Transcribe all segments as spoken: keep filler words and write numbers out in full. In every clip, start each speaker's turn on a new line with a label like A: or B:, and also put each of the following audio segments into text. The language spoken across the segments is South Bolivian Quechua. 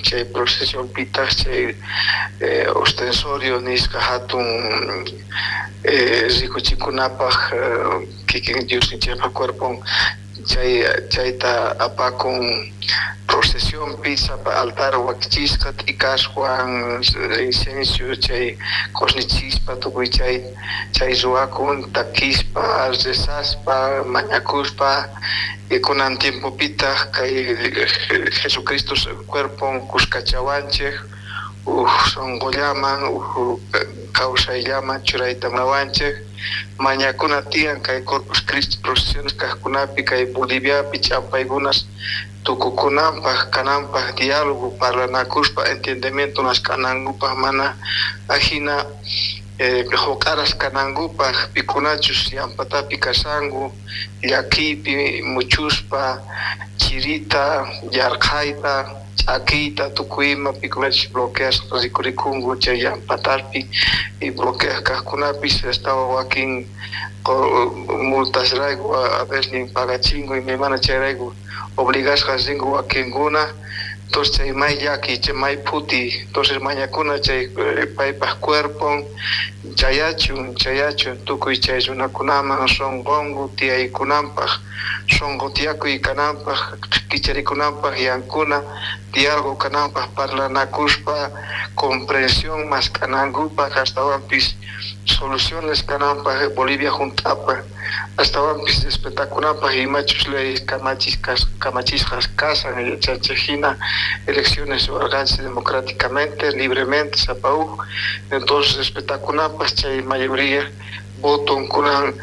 A: Chay procesionpitaq chay eh, ostensorio nisqa hatun eh, rikuchikunapaq eh, kikin Diosninchikpa cuerpon chay chayta apakun procesionpi sapa altar wakichisqa t'ikaswan incienso chay q'usnichispa tukuy chay chay ruwakun takispa rezaspa mañakuspa y kunan tiempopitaq kay Jesucristo cuerpon kuskachawanchik uj sunqullaman uj kawsayllaman churayta munawanchik mañakuna tiyan kay Corpus Christi procesiones kaqkunapi kay Boliviapi ch'ampaykunas tukukunanpaq kananpaq diálogo parlanakuspa entendimiento mask'anankupaq mana ajina eh, huq'aras kanankupaq pikunachus llampatapi kashanku llakiypi muchuspa chirita yarqhayta ch'akiyta tukuy ima pikunachus bloqueasqa rikurikunku chay llampatapi y bloqueaq kaqkunapis astawan wakin multasrayku a veces pagachinku imaymana chayrayku obligasqas rinku wakinkuna entonces chay may llaki chay may phuti entonces mañakuna chay paypaq cuerpon chayachun chayachun tukuy chay runakunaman sunqunku tiyaykunanpaq sunqu tiyakuy kananpaq kicharikunanpaq yankuna diálogo kananpaq parlanakuspa comprensión mask'anankupaq astawanpis soluciones kananpaq Bolivia hunt'apaq astawanpis respetakunapaq imachus ley kamachisqas kamachisqas kasan yachanchik hina elecciones ruwarqanchik democráticamente libremente sapa uj entonces respetakunapaq chay mayoría votonkunan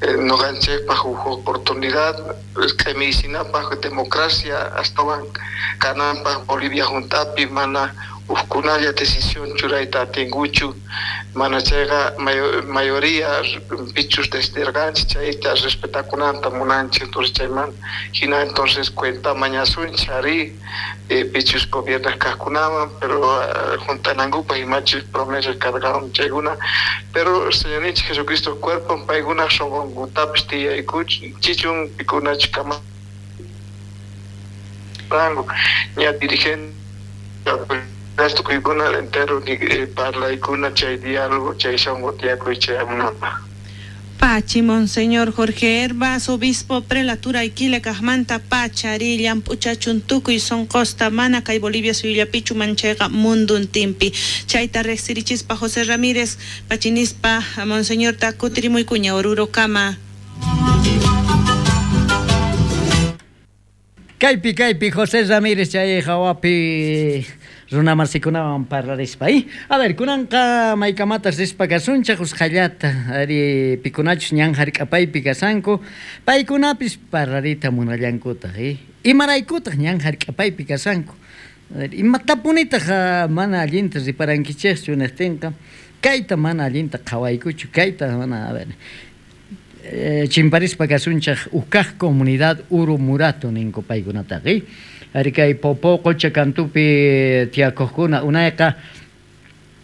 A: eh, noqanchikpaq huk oportunidad q'imiysinapaq democracia astawan kananpaq Bolivia hunt'api mana hukkunalla decisión churayta atinkuchu mana chayqa mayoría pichus decidirqanchik chayta respetakunanta munanchik entonces chayman hina entonces cuenta mañasunchik ari eh, pichus gobierno kaqkunaman pero uh, hunt'anankupaq imachus promesas karqan chaykuna pero Señorninchik Jesucristo cuerpon paykuna sunqunkutapis tiyaykuchichun pikunachus kama ña dirigente tukuykuna entero parlaykuna chay diálogo chay sunqu tiyakuy chayamunanpaq.
B: Pachi, Monseñor Jorge Herbas, obispo prelatura Aiquile kaqmanta pachari llamp'uchachun tukuy sunqusta mana kay Bolivia suyullapichu manchayqa munduntinpi. Chayta riqsirichispa José Ramírez pachinispa Monseñorta kutirimuykuña Orurokama.
C: Kaypi kaypi José Ramírez chay hawapi runamasikunawan parlarispa. A ver, kunanqa maykamatas rispa kasunchik usqhallata ari pikunachus ñan hark'apaypi kasanku paykunapis parlarita munallankutaq eh? Imaraykutaq ñan hark'apaypi kasanku imatapunitaq mana allinta riparankichikchu niqtinqa kayta mana allinta qhawaykuchu kayta mana a ver eh, chimparispa kasunchik ukkaq comunidad Uru Murato ninku paykunataqa eh? Ari kay Popo qocha kantupi tiyakuqkuna unayqa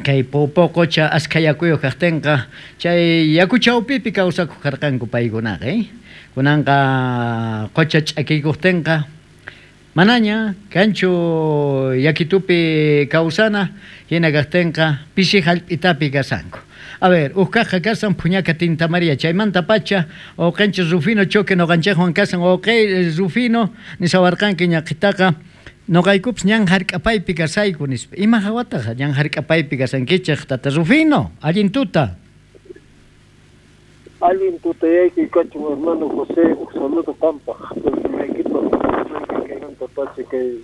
C: kay Popo qocha askha yakuyuq kaqtinqa chay yaku chawpipi kawsakuq karqanku paykunaqa eh? Kunanqa qocha ch'akiykuqtinqa manaña kanchu yakitupi kawsana hina kaqtinqa pisi hallp'itapi kasanku. A ver, ukkaqqa kasan Puñaca Tinta María, chaymanta pacha, uqanchik Rufino Choque noqanchikwan kasan, uqay Rufino nisawarqanki ñaqitaqa noqaykupis ñan hark'apaypi kasayku nispa. Ima hawataqa ñan hark'apaypi kasankichik tata Rufino, allin tuta.
D: Allin tutayayki kachun hermano José, un saludo qampaq, kaymanta pacha kay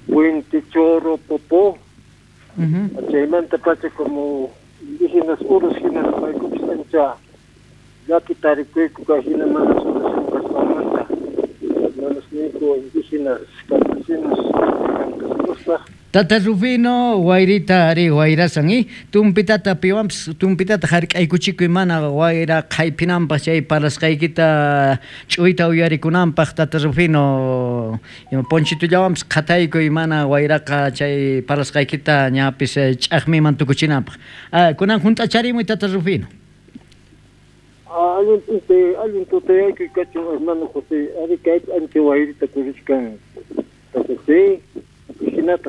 D: Puente Choro Popó, chaymanta pacha como indígenas urus hinas paykupis ancha llaki tarikuyku kay hina mana solución kasqanmanta hermanosniyku indígenas campesinos campesinostaj.
C: Tata Rufino, wayrita ari wayrasan i tumpitata piwanpis tumpitata hark'aykuchikuy mana wayra qhaypinanpaq chay parlasqaykita ch'uyta uyarikunanpaq Tata Rufino ponchitullawanpis qhataykuy mana wayraqa chay parlasqaykita ñapis ch'aqmiman tukuchinanpaq. Ah, kunan hunt'acharimuy Tata Rufino.
D: Allin allin tutayaykuy kachun hermano José, ari kaypi ancha wayrita kurichkan Tata José, hinataq